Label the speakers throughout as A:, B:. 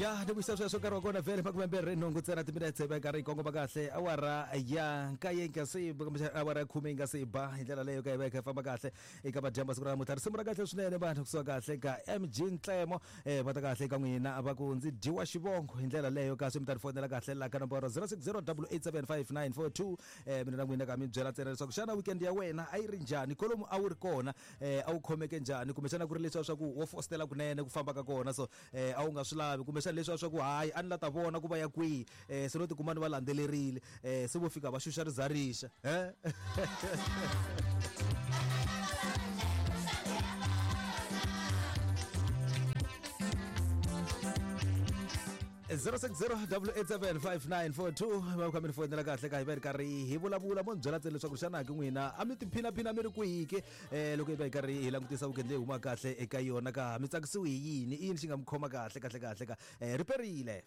A: Ya ni vuyisa sweswo nkarhi wa kona vhele makumembirhi nhungu ntsena timinetse va karhi yi kongoma kahle awara ya nkaye yi nga se kumbexana awara ya khume yi nga se ba hi ndlela leyo ka yi va yi kha yi famba kahle eka madyambu siku ra namuntlha risimu ra kahle swinene vanhu kusuka kahle ka mg ntlemo um va ta kahle eka n'wina va ku ndzi dyiwa xivongo hi ndlela leyo kasi mi ta ni fonela kahle la ka nomboro 060 875 um mina na n'wina ka mi byela ntsena leswaku xana weekend ya wena a yi ri njhani kolomu a wu ri kona um a wu khomeke njhani kumbexana ku ri leswiya swa ku wo fositela kunene ku famba ka kona so eh a wu nga swi lavi kumbexana leswiya swa ku hayi a ni la ta vona ku va ya kwihi eh se no tikuma ni va landzelerile eh se vo fika va xuxa rizarixa eh zero six zero double eight seven five nine four two va kha mi ni fonela kahle ka hi va ri karhi hi vulavula mo ni byela ntsena leswaku xana ke n'wina a mi tiphinaphina mi ri kwihi ke eh loko hi va hi karhi hi langutisa weekend leyi humaka kahle eka yona ka mi tsakisiwi hi yini i yini xi nga mi khoma kahle kahle kahle ka eh ri perile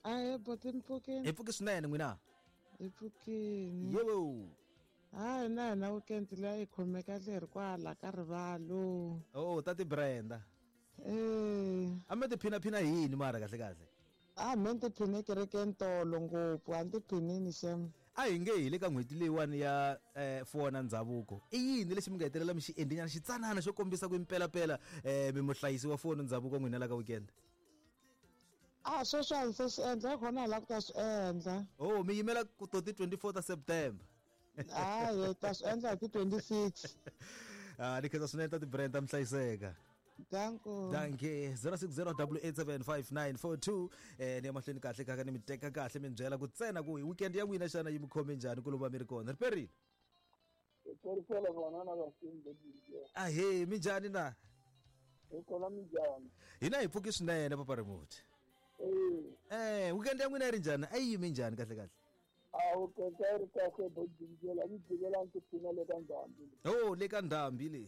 B: Ahee boti mi pfukini
A: hi pfuki swinene n'wina
B: hi pfukini
A: yewo
B: hayi na hina weekend leyi yi khome kahle hi ri kwala ka rivalo
A: oh tati brenda
B: eh
A: a mi tiphinaphina hi yini mara kahle kahle
B: A me ni tiphine kerekeni tolo ngopfu a ni tiphinini xem.
A: A hi nge hi le ka n'hweti leyiwani ya eh, fuwa na ndhavuko i yini lexi mi nga hetelela mi xi endlinyana xitsanana xo kombisa ku impelapela eh, mi muhlayisi wa fuwo na ndhavuko n'wina la ka weekend
B: A sweswi a ni se swi endla hi khona hi lava ku ta swi endla.
A: Oh mi yimela ku to ti 24 ta September.
B: Hayi hi ta swi endla hi ti 26.
A: Ah, ni khensa swinene ta ti-brand ta mi hlayiseka.
B: Danko.
A: Danke 0608875942 eh ni ya mahlweni kahle kaka ni mi teka kahle mi byela ku tsena ku weekend ya n'wina xana yi mi khome njhani ku lova mi ri kona riperile
C: Perisela vona na vasimbe
A: ahe mi njhani na
C: hi kona minjhani
A: hina hi pfuki swinene papa remote
C: eh
A: eh weekend ya n'wina yi ri njhani a yi yime njhani kahle kahle
C: a wu keka yi ri kahle bojinjela mi jikela ni tiphina le ka ndhambi
A: oh le ka ndhambi le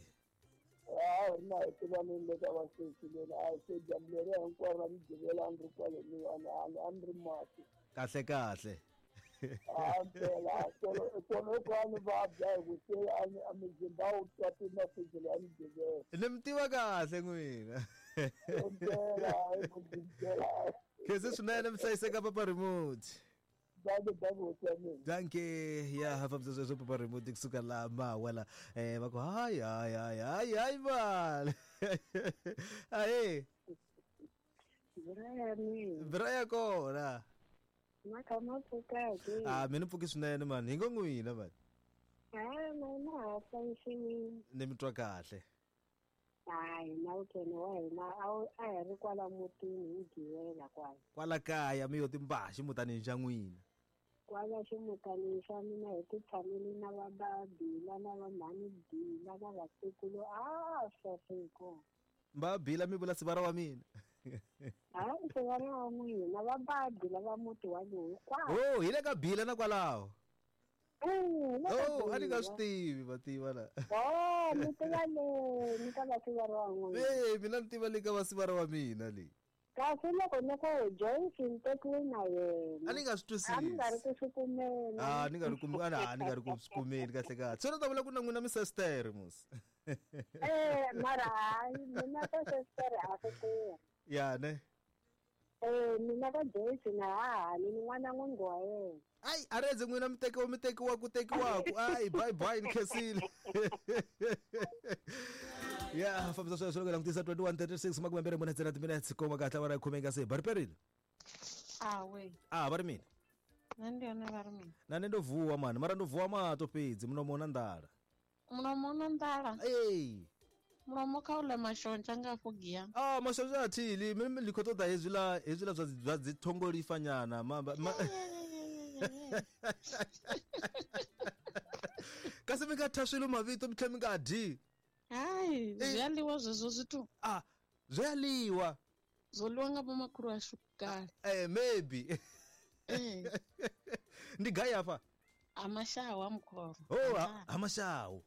C: a hi ri na hi tivaneni le ka vasesi leni a se dyambu leri hinkwaro ra migivela a ni ri kwale niwani a ni ri mati
A: kahle kahle
C: a mpela tolo ko a ni vabya hi ku se a ni a mizimba wu twa timafijelo ya migivela
A: ni mi tiva kahle n'wina
C: mpela hi ku
A: khense swinene mi hlayiseka papa remote
C: Danke, danke, hosi ya mina.
A: Danke ya ha fambisa sweswo papa remote kusuka laha mawa la eh va ku hayi hayi hayi hayi hayi mali ahe
D: Brian,
A: bra ya kona
D: ma kha ma pfuka-ke?
A: a mina pfuki swinene mani hi ngo n'wina mani
D: Hayi, mina ha hlayisiwile.
A: ni mi twa kahle
D: Hayi, na weekend wa hina a wu a hi ri kwala mutini hi givela kwala.
A: Kwala kaya mi yo timbaha ximutanini xa n'wina.
D: Kwala ximutanini xa mina hi ti tshamele na va Babila na va mhani Bila na vatukulu a saseko.
A: Mbabila mi vula sivara wa mina.
D: Hayi sivara wa n'wina va Babila va muti walowu hinkwawo.
A: Oh, hi le ka Bila na kwalaho.
D: Oh,
A: a ni nga swi tivi va tiva la.
D: Oh, mi tiva le ni ka vasivara wa n'wina.
A: Eh, mina ni tiva le ka vasivara wa mina le.
D: Kasi loko ni ku Joyce ni tekiwe na yena.
A: A ni nga swi twisisi.
D: A ni nga ri ku swi kumeni.
A: Ah, ni nga ri ku a ni nga ri ku swi kumeni kahle kahle. Se ni ta vula ku na n'wina mi sister mos.
D: Eh, mara hayi mina ka sister a swi tirhi.
A: Ya ne.
D: Eh, mina ka Joyce na ha ni n'wana n'wingi wa yena.
A: Ayi a redze n'wina mi tekiwa mi tekiwa ku tekiwaku ayi bye bye ni khensile ya fambisa sweswo loko langutisa 21:36 makumembirhi mune ntsena timinutes koma kahle awara ya khume yi nga se ba riperile
E: awe
A: a va ri mina
E: nṋe ndi yone vha ri mina
A: na nṋe ndo vuwa mani mara ndo vuwa mato fhedzi mulomo una nḓala
E: Mulomo u na nḓala.
A: Ee.
E: Mulomo kha u ḽe mashonzha nga afho gia.
A: Ah, mashonzha a thi ḽi. Mimi ndi khou ṱoḓa hezwiḽa hezwiḽa zwa zwa dzi thongolifa nyana. Ma, ma... Kasi mi nga thya swilo mavito mi tlhela mi nga dyi.
E: Hai, zwi a ḽiwa zwezwo zwithu.
A: Ah, zwi a ḽiwa.
E: Zwo ḽiwa nga vhomakhulu ashu kale.
A: Eh, maybe.
E: Eh.
A: Ndi gai hafha?
E: Ha Mashau ha Mukhoro.
A: Oh, ha, ha Mashau.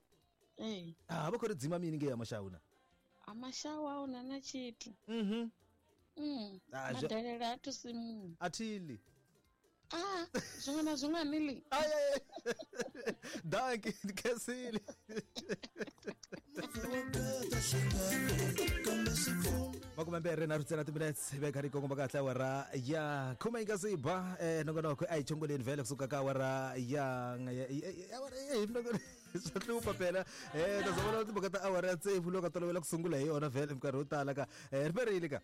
E: Eh.
A: Ah, vha khou ri dzima mini ngei ha Mashau na?
E: Ha Mashau a huna na tshithu.
A: Mhm.
E: Mm.
A: Ah,
E: Madelele a thusi muṅwe.
A: A thi ḽi.
E: A swin'wana na swin'wana le.
A: Danki khensile. 23 ntsena timinutes veka ri kongoma kahle awara ya 10 yi nga si ba nongonoko a hi chongoleni vhele kusuka ka awara ya swa hlupha phela ta vona timhaka ta awara ya 6 loko tolovela ku sungula hi yona vhele minkarhi yo tala ka riperile ka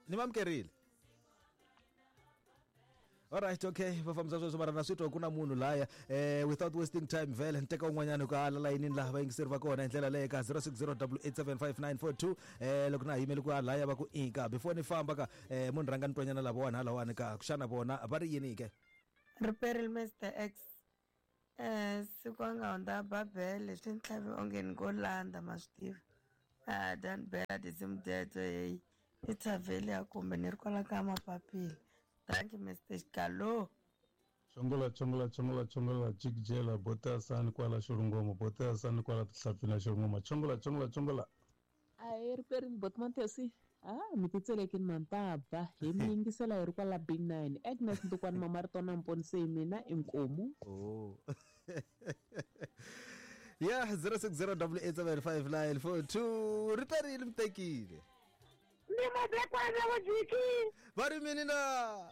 A: ni mamukerile. Alright, okay, va fambisa sweswo mara na swi twa ku na munhu laya without wasting time vhele ni teka un'wanyana ku ala layinini laha vayingiseri va kona hi ndlela leyo ka 0608755942 loko na ha yimele ku alaya va ku ika before ni famba ka munhu rhanga ni twanyana lavawani halawani ka xana vona va ri yini ke.
F: Riperile Mr X. Siku a nga hundza Babele swi ni tlhave onge ni ngo landa ma swi tiva. A dani bela tinsimu teto heyi i thavheli kumbe ni ri kwala ka mapapila. Thank you, Mr. Xikalo.
G: Chongola, chongola, chongola, chongola, jikijela, botasani kwala xirungoma, botasani kwala tihlapfini xirungoma. Chongola, chongola, chongola.
H: Ayi riperini botmontesi. Mi titselekini mantaba hi mi yingisela hi ri kwala B9. Agnes Ntukwani Mamarito Mponisei mina inkomu.
A: Oh. Yeah, 0608755942. Riperini mtekile.
D: Ndi madekwana vajiki.
A: Va ri mini na?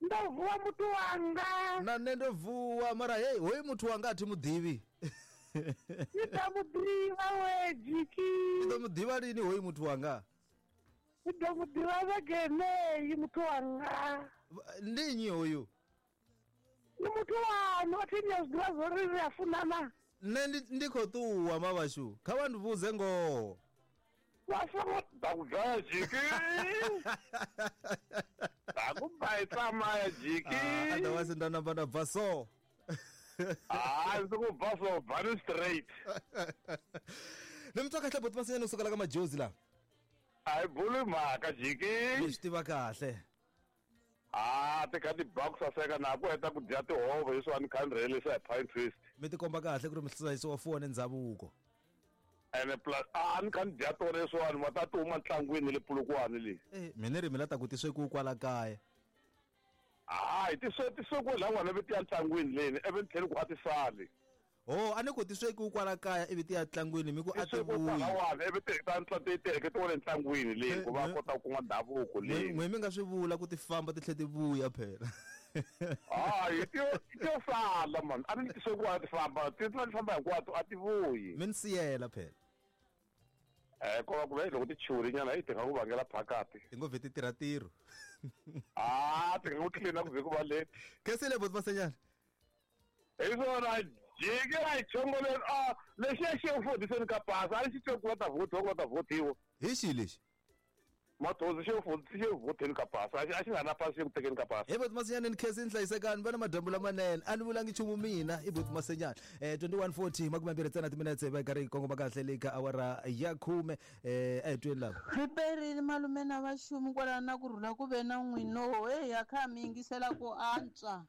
D: Ndo vuwa muthu wanga.
A: Na nṋe ndo vuwa mara hey, hoyu muthu wanga a thi muḓivhi.
D: Ni ḓo muḓivha we jiki.
A: Ni ḓo muḓivha lini hoyu muthu wanga?
D: Ni ḓo muḓivha vhege yeneyi muthu wanga.
A: Ndi nnyi hoyu?
D: Ndi muthu waṋu, a thi ni a zwi ḓivha zwori ri a funana.
A: Nṋe ndi khou ṱuwa mavhashu, kha vha ndivhudze ngoho.
C: Takudlaya jiki. Takubva tsamaya jiki.
A: Otherwise ndanamba ndabva so.
C: Ndzi ku bva so, bvani straight.
A: Ni mi twa kahle boti Masinyane u sukela ka majozi la.
C: A hi buli mhaka jiki.
A: Ni swi tiva kahle.
C: Ti kha ti ba ku saseka na ku heta ku dya tihove leswiwani ni kha ni rhelisa hi pine twist.
A: Mi tikomba kahle ku ri mi hlayisiwa fuwa ni ndhavuko.
C: Ene plus a ni kha ni dya tona leswiwani ma ta ti huma ntlangwini le Polokwane le.
A: Mina ri mi la ta ku ti swekiwe kwala kaya.
C: Hayi ti swekiwe la n'wana vi ti ya ntlangwini leni ivi ni tlhela ku a ti sali.
A: Oh, a ni ku ti swekiwe kwala kaya ivi ti ya ntlangwini mi ku a ti vuyi.
C: Lawani ivi ti ta ti heleketiwa le ntlangwini leni ku va kota ku kuma ndhavuko leni.
A: N'we mi nga swi vula ku ti famba ti tlhela ti vuya phela.
C: Hayi ti yo sala man, a ni ti swekiwa ti famba ti famba hinkwato a ti vuyi.
A: Mi ni siyela phela.
C: Ko va ku ve loko ti chuhile yi ti nga ku vangela phakati.
A: Ti ngo vhe ti tirha ntirho.
C: Ti nga ku tlilina ku vhe ku va late.
A: Khensile boti Masinyane.
C: Hi swona jiki a hi chongoleni lexiya xi fodiseni ka pasi a ni xi twe ku va ta vhotiwa ku va ta vhotiwa.
A: Hi xihi lexi?
C: Mathozi xi vhoteni ka pasi a xi nga na pasi ku tekeni ka pasi.
A: Hi boti Masinyane ni khensile ni hlayisekani va na madyambu lamanene a ni vulangi nchumu mina i boti Masinyane. 21:40 20 timinetse va karhi kongoma kahle le ka awara ya 10 a hi tweni lava.
I: Riperile malume na vaxumi kwala na ku rhula ku ve na n'wino hey ya kha mi yingisela ku antswa.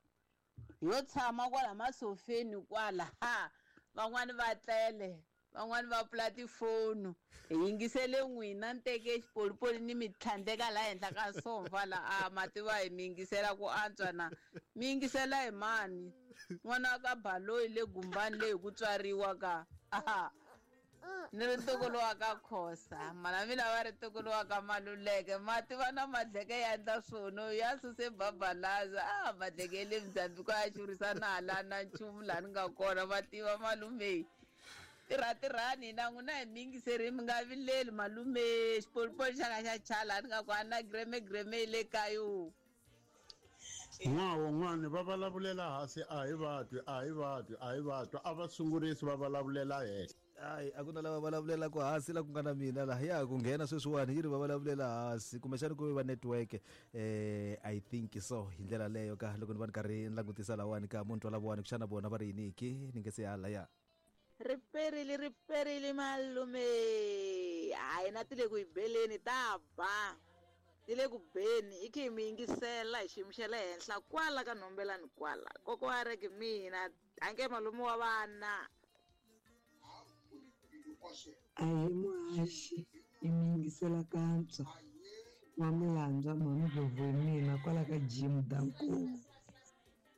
I: Yo tshama kwala masofeni kwala ha van'wani va tlele van'wani va pfula tifoni hi yingisele n'wina ni teke xipolipoli ni mi tlhandleka laha henhla ka sofa la a mativa hi mi yingisela ku antswa na mi yingisela hi mani n'wana ka baloyi le gumbani leyi ku tswariwa ka ni ri ntukulu wa ka Khosa mana mina va ri ntukulu wa ka Maluleke mativa na Madleke ya endla swono ya suse babalaza Madleke le Mozambique ya xurisa na hala na nchumu laha ni nga kona mativa malume tirhatirhani na n'wina hi mi yingiseri mi nga vileli malume xipolipoli xa nga xa chala ni nga ku a na greme greme le kayo.
G: N'wana va vulavulela hansi a hi vatwi a hi vatwi a hi vatwi a va sungurisi va vulavulela henhla.
A: Hayi a ku na lava vulavulelaka hansi la ku nga na mina laha ya ku nghena sweswiwani yi ri va vulavulela hansi kumbexana ku va network I think so hi ndlela leyo ka loko ni va ni karhi ni langutisa lawani ka munhu twa lavawani kuxana vona va ri yini ki ni nge se hala ya.
I: Riperile riperile malume hayi na ti le ku yi beleni ta ba ti le ku beni i khe mi yingisela hi xiyimo xa le henhla kwala ka nhombelani kwala koko wa reke mina ange malume wa vana.
F: A hi muhaxi i mi yingisela kantswa N'wamilandzwa Mhani Ndlovu hi mina kwala ka gym danko.